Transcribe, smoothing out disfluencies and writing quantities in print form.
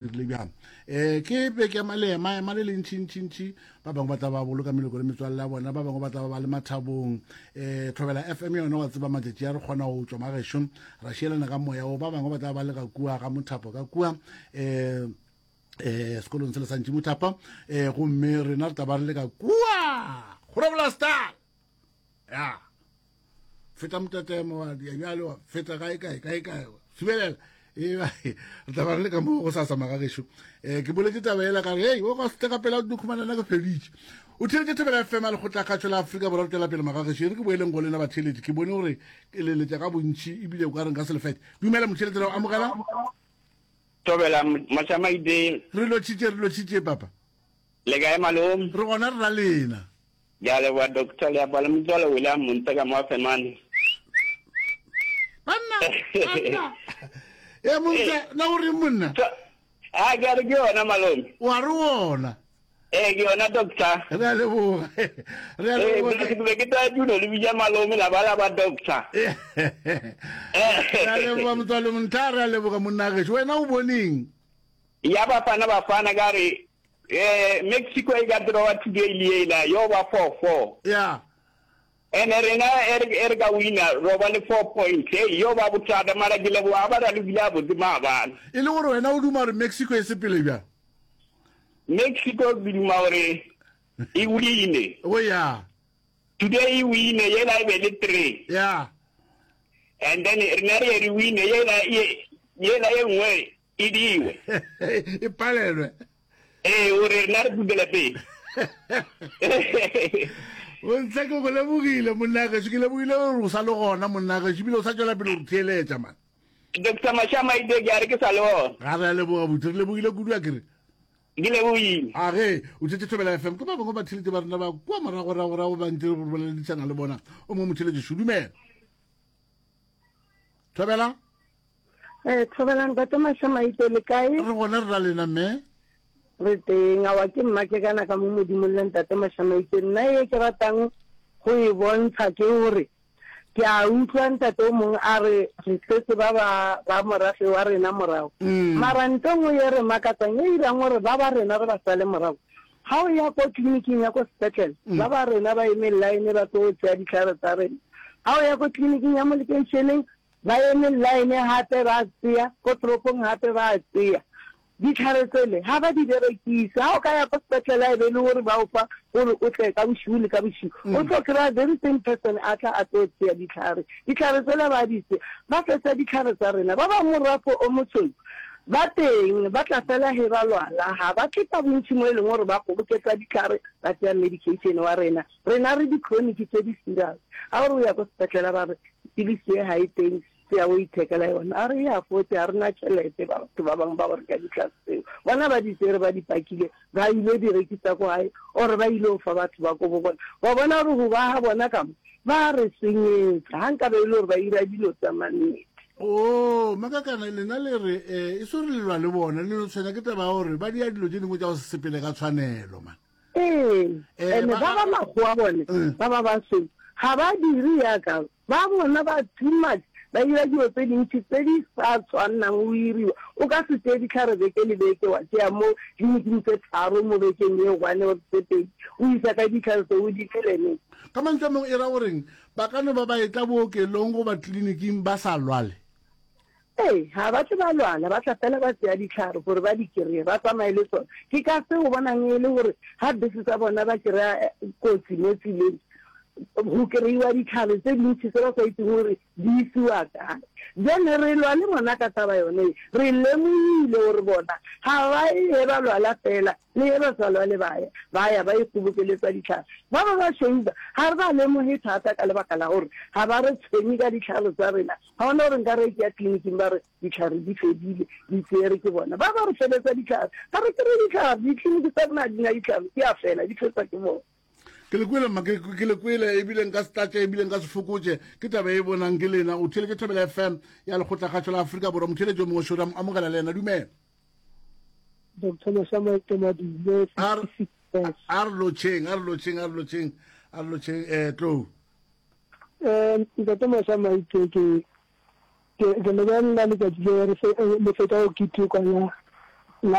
Rile bjang? Um ke beke ya malema, ema le lentšintšintši. Ba bangwe ba tla ba boloka meloko le metswalle ya bona, ba bangwe ba tla ba ba le mathabong. Um Thobela FM yona wa tseba matšatši a re kgona go tšwa magešo ra šielana ka moya wo. Ba bangwe ba tla ba le ka kua ga mothapo ka kua um um sekolong se le sa ntši mothapa um gomme rena re tla ba re le ka kua Groblersdal. Ya. Feta motetemo wa dia bjale wa feta kae kae kae kae thibelela e re tla ba re le ka mo go sasa magagešo um ke boletse taba ela ka re hei o ka se ka pela o khumana nna ke feditše o theletše thobela fm a lekgotlakgatšo la afrika borwa re tšwela pele magagešo e re ke boeleng go lena batheletši ke bone gore ke leletša ka bontši ebile o ka reng ka selefete dumela motheletši ra o amogela Thobela Mashamaite. Re lotšhitše re lotšhitše papa. Le kae malome? Re gona re ra lena. Ke a leboga Doctor Leapa le motswalo William Montse ka mo Femane. Banna, banna. E Montse, na o reng monna? A ke a re ke yona malome. Wa re wona. Ee ke yona doctor. Re a leboga. Re a leboga. Ke be ke tsaya tulo le bitša malome la ba la ba doctor. Re a leboga motswalo Montla, re a leboga monna gešo. Wena o boneng? Ya Bafana Bafana ka re eh Mexico e ka drawa today le yela yo ba 4-4. Yeah. Ene rena e re e re ka wina ro ba le 4 points. Hey yo ba bothata mara ke leboga ba ralokile a botse maabane. E le gore wena o duma gore Mexico e sepele bjang? Mexico ke duma gore e wine. Oh yeah. Today e wine yela e be le 3. Yeah. And then rena re re wine yela yela e nngwe E diwe. E palelwe. Ee, o re rena re putele pele. Bontle ke go lebogile monna gešo, ke lebogile gore o sa le gona monna gešo, ebile o sa tšwela pele go theeletša man. Doctor Mashama ide ke a re ke sa le gona. Ga re a leboga botse, re lebogile kudu a kere. Ke lebogile. A ge o tšetše Thobela FM ke ba bangwe ba theletše ba rena ba kua moragoragorago ba ntse re boledišana le bona. O mongwe motheletše šudumela. Thobela. Eh, Thobela ntate Mashamaite le kae? Re gona re ra lena mme. Re teng, awa ke mma ke kana ka mo modimong le ntate Mashamaite. Nna e ke ratang go e bontsha ke gore ke a utlwa ntate o mongwe a re re setse ba ba ba morafe wa rena morago. Mm. Mara nto nngwe ye re makatsang e irang gore ba ba rena re ba sale morago. Ga o ya ko tleliniking ya ko sepetlele, mm. ba ba rena ba eme line ba tlo tšea ditlhare tsa rena. Ga o ya ko tleliniking ya mo lekeišeneng Ba eme line gape ba tseya, ko toropong gape ba tseya. Ditlhare tsele ga ba di berekise. Ga o ka ya ko sepetlele e be e le gore ba o fa gore o tle ka bošigo le ka bošigo, o tlo kry-a very same person a tla a tlo tseya ditlhare. Ditlhare tsele ba di tseya, ba fetsa ditlhare tsa rena. Ba ba morafo o mosweu ba teng, ba tla fela ge ba lwala, ga ba tle ka bontši mo e leng gore ba kgoboketsa ditlhare ba tseya medication wa rena. Rena re di-chronic tse di serious. Ga o re o ya ko sepetlela ba re pilisi ye ga e teng, tseya o ithekela yona. A re ya fote, ga re na tšhelete. Batho ba bangwe ba go reka ditlhare tseo, bona ba di tsere ba di pakile, ba ile di rekisa ko gae or ba ile go fa batho ba ko bo bona. Wa bona gore go ba ga bona ka mo ba re senyetsa. Ga nkabe e le gore ba ira dilo tsa mannete. Oo, Makakana, lena le re, eh, e se gore le lwa le bona, le no tshwenya ke taba ya gore ba dia dilo tše dingwe tša go se sepele ka tshwanelo, man. Ee, ene ba ba makgowa bone ba ba basweu ga ba dire yaka ba bona ba too much, ba dira dilo tse dintši tse di sa tshwannang go iriwa. O ka se tseye dihlare beke le beke wa tšea mo tleliniking tse tharo mo bekeng ye one or tse pedi o isa ka dihlare tse o di nwele neng. Ka mantšu a mangwe e ra goreng ba ka no ba ba etla bookelong goba tleliniking ba sa lwale? Ee, ga ba tle ba lwala, ba tla fela ba tsea dihlare gore ba di kry-e, ba tsamaye le tsona. Ke ka se o bonang e le gore ga bese tsa bona ba kry-a kotsi mo tseleng, go kry-iwa ditlhare tse dintši tse ba sa itseng gore di isiwa kae. Bjale re lwa le bona ka taba yone ye, re lemogile gore bona ga ba ye ge ba lwala fela, le ge ba sa lwale ba ya, ba ya ba ikgobokeletsa ditlhare. Ba ba ba šweu ba, ga re ba lemoge thata ka lebaka la gore ga ba re tshwenye ka ditlhare tsa rena. Ga gona gore nka re ke ya tleliniking ba re ditlhare di fedile, di tsere ke bona. Ba ba re feletsa ditlhare. Ga re kry-e ditlhare, ditleliniki tsa rena ga di na ditlhare, di a fela, di fetswa ke bona. Ke le kwele mma, ke, ke le kwele, ebile nka se tlatše, ebile nka se fokotše. Ke taba e bonang ke lena. O theeletše Thobela FM ya Lekgotlakgašo la Afrika Borwa. Motheeletši yo mongwe šo, re a mo amogela le yena. Dumela. Doctor Mashamaite Madume, A re, 66 years. a re lotšheng, a re lotšheng, a re lotšheng, a re lotšheng, eh, Tlou. Um Ntate Mashamaite, ke, ke, ke lebelela letšatši le re fe, le fetša go ketekwa la.